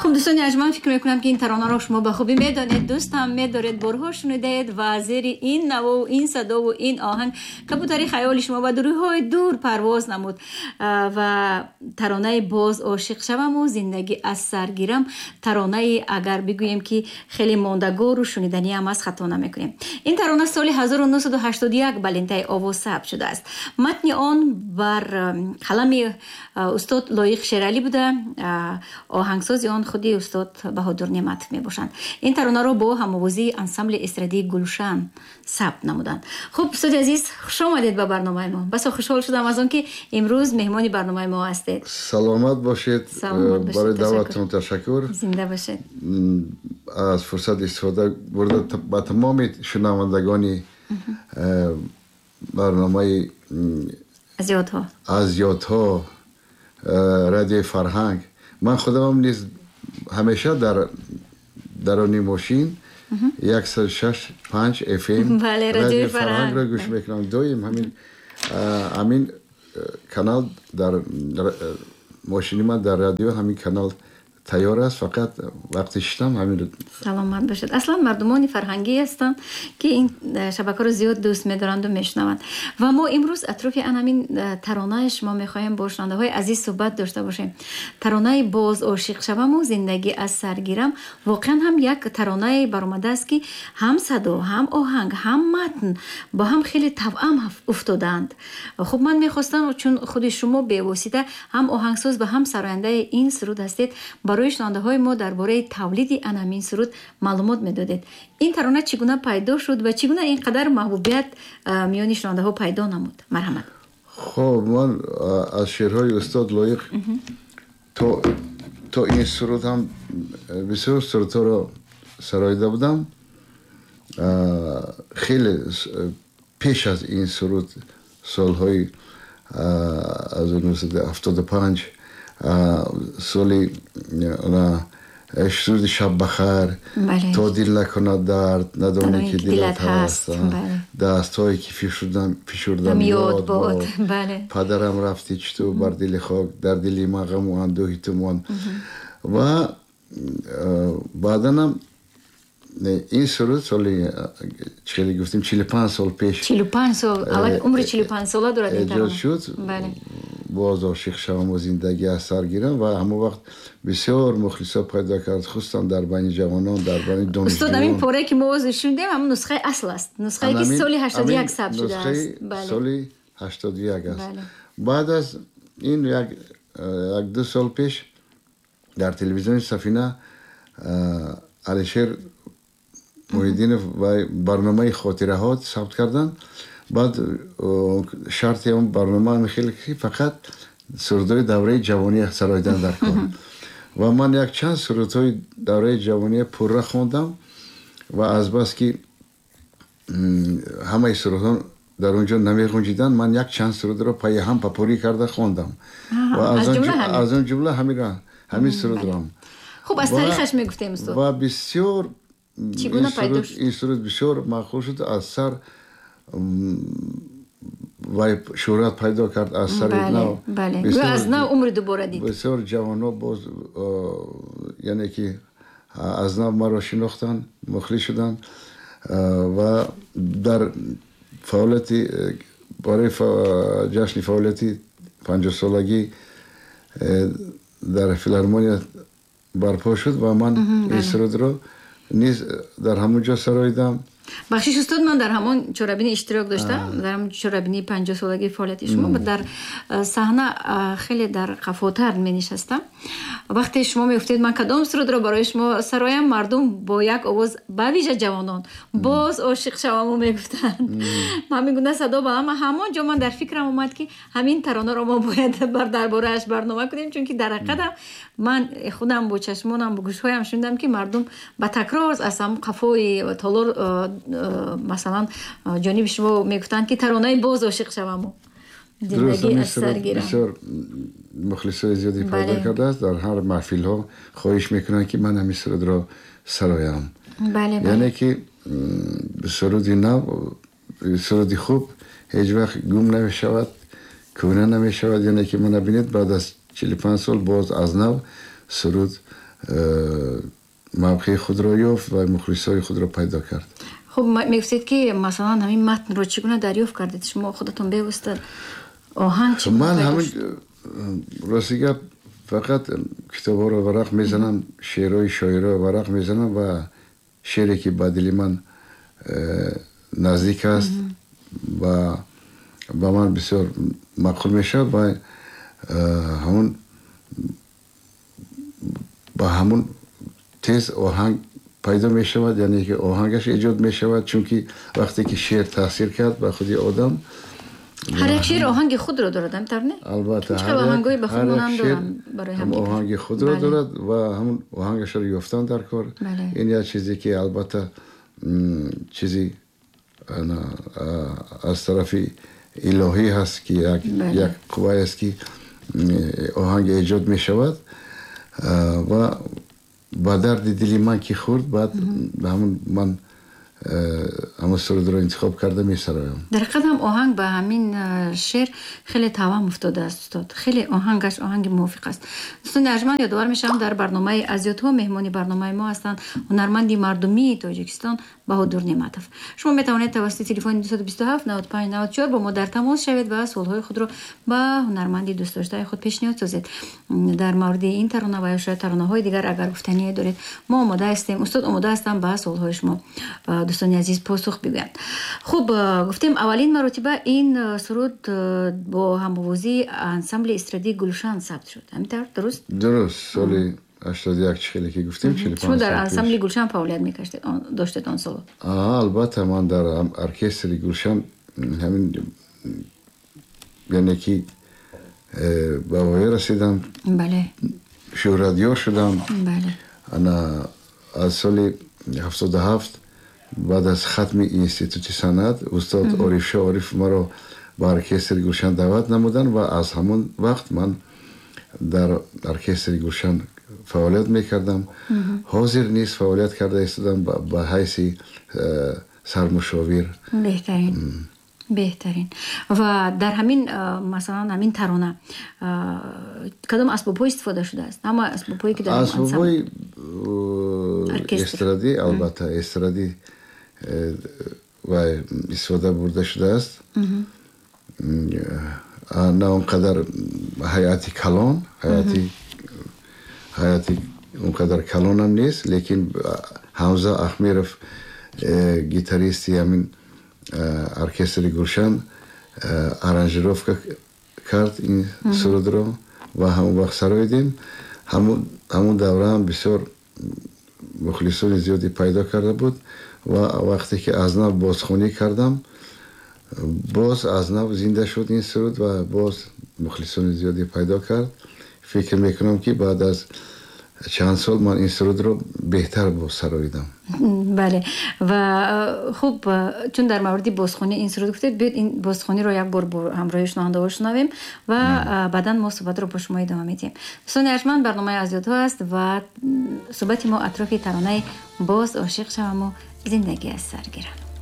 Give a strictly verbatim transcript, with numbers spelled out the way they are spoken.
Хуб, дӯстони арҷманд, фикр мекунам, ки ин таронаро шумо ба хубӣ медонед, дӯст ҳам медоред, борҳо шунидаед ва зери ин навову ин садову ин оҳанг кабутари хаёли шумо ба дурӯҳҳои дур парвоз намуд. Ва таронаи «Боз ошиқ шаваму зиндагӣ аз сар гирам» таронаи, агар бигӯем, ки хеле мондагору шуниданиам аст, хато намекунем. Ин тарона соли ҳазору нӯҳсаду ҳаштоду як ба лентаи овоз сабт шудааст. Матни он бар қалами устод Лоиқ Шералӣ буда, оҳангсози он худи устод Баҳодур Неъматов мебошанд. Ин таронаро бо ҳамовозии ансамбли эстрадии «Гулшан» сабт намуданд. Хуб, устоди азиз, хуш омадед ба барномаи мо. Басо хушҳол шудам аз он, ки имрӯз меҳмони барномаи мо ҳастед. Саломат бошед. Барои даъватон ташаккур. Зинда бошед. Аз фурсат истифода бурда, ба тамоми шунавандагони барномаи «Аз ёдҳо». «Аз ёдҳо», Радиои Фарҳанг, ман худамам низ ҳамеша дар дарони мошин яксад шаш панҷ F M Радиои Фарҳангро гӯш мекунам доим. Ҳамин ҳамин канал дар мошини ман, дар радио ҳамин канал тайёр аст, фақат вақти шиштам ҳамин. Саломат бошед. Аслан мардумони фарҳангӣ ҳастанд, ки ин э, шабакаро зиёд дӯст медоранду мешунаванд. Ва мо имрӯз атрофи ан ҳамин э, таронаи шумо мехоҳем бо шунавандаҳои азиз суҳбат дошта бошем. Таронаи «Боз ошиқ шаваму зиндагӣ аз сар гирам» воқеан ҳам як таронае баромадааст, ки ҳам садо, ҳам оҳанг, ҳам матн бо ҳам хеле тавъам уфтодаанд. Хуб, ман мехостам, чун худи шумо бевосита ҳам оҳангсоз ва ҳам сарояндаи ин суруд ҳастед, барои шунавандаҳои мо дар бораи тавлиди ан ҳамин суруд маълумот медодед. Ин тарона чӣ гуна пайдо шуд ва чӣ гуна ин қадар маҳбубият миёни шунавандаҳо пайдо намуд? Марҳамат. Хоб, ман аз шеърҳои устод Лоиқ то то ин суруд ҳам бисёр сурудҳоро сароида будам. Хеле пеш аз ин суруд, солҳои ҳазору нӯҳсаду ҳафтоду панҷ, соли суруди «Шаб бахайр», «То дил накунад дард, надонӣ, ки дилат ҳаст», «Дастҳое, ки фишурдам, ёд бод», «Падарам, рафтӣ чӣ ту бар дили хок, дар дили ман ғаму андӯҳи ту монд». Ва баъданам ин суруд соли, хеле гуфтем, чилу панҷ сол пеш. Чилу панҷ сол, умри чилу панҷ сола дорад. Эҷод шуд «Боз ошиқ шаваму зиндагӣ аз сар гирам» ва ҳамон вақт бисёр мухлисо пайдо кард, хусусан дар байни ҷавонон, дар байни донишҷӯён. Устод, ҳамин порае, ки мо ҳозир шунидем, ҳамон нусхаи асл аст, нусхае, ки соли ҳаштоду як сабт шудааст. Соли ҳаштоду як аст. Баъд аз ин як як ду сол пеш дар телевизиони Сафина Алишер Муҳиддинов барномаи хотираҳо сабт карданд. Баъд шарти он барнома ҳамин хеле, ки фақат сурудҳои давраи ҷавонӣ сароидан дар кор. Ва ман якчанд сурудҳои давраи ҷавонӣ пурра хондам ва азбаски ҳамаи сурудҳо дар он ҷо намеғунҷиданд, ман як чанд сурудро пайи ҳам попурри карда хондам ва аз он ҷумла ҳамин сурудро. Хуб, аз таърихаш мегуфтем, устод. Ва бисёр Чӣ гуна пайдо шуд? Ин суруд бисёр маъқул шуд, аз сар вай шӯҳрат пайдо кард, аз сари нав. Аз нав умри дубора дид. Бисёр ҷавонҳо боз, яъне ки, аз нав маро шинохтанд, мухлис шуданд ва дар фаъолияти барои ҷашни фаъолияти панҷоҳсолагӣ дар филармония барпо шуд ва ман ин сурудро низ дар ҳамон ҷо сароидам. Бахшиш, устод, ман дар ҳамон чорабинӣ иштирок доштам, дар ҳамон чорабинии панҷоҳсолагии фаъолияти шумо. Дар саҳна хеле дар қафотар менишастам. Вақте шумо мегуфтед, ман кадом сурудро барои шумо сароям, мардум бо як овоз, ба вижа ҷавонон, «Боз ошиқ шаваму» мегуфтанд. Ҳамин гуна садо ба ҳама. Ҳамон ҷо ман дар фикрам омад, ки ҳамин таронаро мо бояд дар борааш барнома кунем, чунки дар ҳақиқатам ман худам бо чашмонам, бо гӯшҳоям шунидам, ки мардум ба такрор аз ҳамон қафои толор, масалан, ҷониби шумо мегуфтанд, ки таронаи «Боз ошиқ шаваму зиндагӣ аз сар гирам». Бисёр мухлисои зиёде пайдо кардааст. Дар ҳар маҳфилҳо хоҳиш мекунанд, ки ман ҳамин сурудро сароям. Яъне ки суруди нав, суруди хуб ҳеҷ вақт гум намешавад, кӯҳна намешавад. Яъне ки мана бинед, баъд аз чилу панҷ сол боз аз нав суруд мавқеи худро ёфт ва мухлисои худро пайдо кард. Хуб, мегуфтед, ки масалан ҳамин матнро чӣ гуна дарёфт кардед? Шумо худатон бевосита оҳанг чӣ гуна ман пайдо ҳамин шуд? Рости гап, фақат китобҳоро варақ мезанам, шеърҳои шоироро варақ мезанам ва шеъре ки ба дили ман э, наздик аст ва ба ман бисёр маъқул мешавад ва э, ҳамун ба ҳамун тез оҳанг пайдо мешавад, яъне ки оҳангаш эҷод мешавад, чунки вақте ки шеър таъсир кард ба худи одам. Ҳар як шеър оҳанги худро дорад, ҳамин тавр не? Албатта. Чӣ қадр оҳангҳои ба худ Ҳар як монанд шеър доранд барои ҳам ҳамдигар. оҳанги худро Бале. дорад ва ҳамун оҳангашро ёфтан дар кор. Бале. Ин як чизе ки албатта м, чизи ана, а, аз тарафи илоҳӣ ҳаст, ки як Бале. як қуввае аст, ки м, оҳанг эҷод мешавад. А, ва ба дарди дили ман ки хӯрд, баъд ҳамун ман э, ҳамун сурудро интихоб карда месароям. Дар ҳақиқат ҳам оҳанг ба ҳамин э, шеър хеле тавам уфтодааст, устод. Хеле оҳангаш оҳанги мувофиқ аст. Дӯстони арҷманд, ёдовар мешавам, дар барномаи «Аз ёдҳо» меҳмони барномаи мо ҳастанд ҳунарманди мардумии Тоҷикистон Баҳодур Неъматов. Шумо метавонед тавассути телефони дусаду бисту ҳафт наваду панҷ наваду чор бо мо дар тамос шавед ва суолҳои худро ба ҳунарманди дӯстдоштаи худ пешниҳод созед. Дар мавриди ин тарона ва ё шояд таронаҳои дигар агар гуфтание доред, мо омода ҳастем, устод омода ҳастам ба суолҳои шумо, дӯстони азиз, посух бигӯянд. Хуб, гуфтем, аввалин маротиба ин суруд бо ҳамовозии ансамбли эстрадии «Гулшан» сабт шуд, ҳамин тавр, дуруст? Дуруст, соли ҳаштоду як, чӣ хеле ки гуфтем, чилу Шумо панҷ дар сол пеш. ансамбли «Гулшан» фаъолият мекаштед, доштед он соло? Аа, албатта, ман дар оркестри «Гулшан» ҳамин, яъне ки э, ба воя расидам, бале шӯҳратёр шудам. Бале ана аз соли ҳафтоду ҳафт, баъд аз хатми институти санъат, устод Орифшо Ориф маро ба оркестри «Гулшан» даъват намуданд ва аз ҳамон вақт ман дар оркестри «Гулшан» фаъолият мекардам. Ҳозир низ фаъолият карда истодам ба ба ҳайси э, сармушовир. Беҳтарин, беҳтарин. Ва дар ҳамин э, масалан, ҳамин тарона э, кадом асбобҳо истифода шудааст? Ҳама асбобҳое ки дар ансамбл Асбобҳои оркестр. Эстрадӣ, албатта, эстрадӣ э, ва истифода бурда шудааст. М, а, на он қадар ҳайати калон, ҳайати ҳайати он қадар калонам нест, лекин Ҳамза Ахмеров, э, гитаристи ҳамин э, оркестри «Гулшан», э, аранжировка кард ин сурудро ва ҳамон вақт сароидем. ҳамун ҳамун давра ҳам бисёр мухлисони зиёде пайдо карда буд ва вақте ки аз нав бозхонӣ кардам, боз аз нав зинда шуд ин суруд ва боз мухлисони зиёде пайдо кард. Фикр мекунам, ки баъд аз чанд сол ман ин сурудро беҳтар боз сароидам. Бале, ва э, хуб, э, чун дар мавриди бозхонӣ ин суруд гуфтед, биёед ин бозхониро як бор бо ҳамроҳи шунавандаҳо шунавем ва э, баъдан мо суҳбатро бо шумо идома медиҳем. Дӯстони арҷманд, барномаи «Аз ёдҳо» аст ва м, суҳбати мо атрофи таронаи «Боз ошиқ шаваму зиндагӣ аз сар гирам».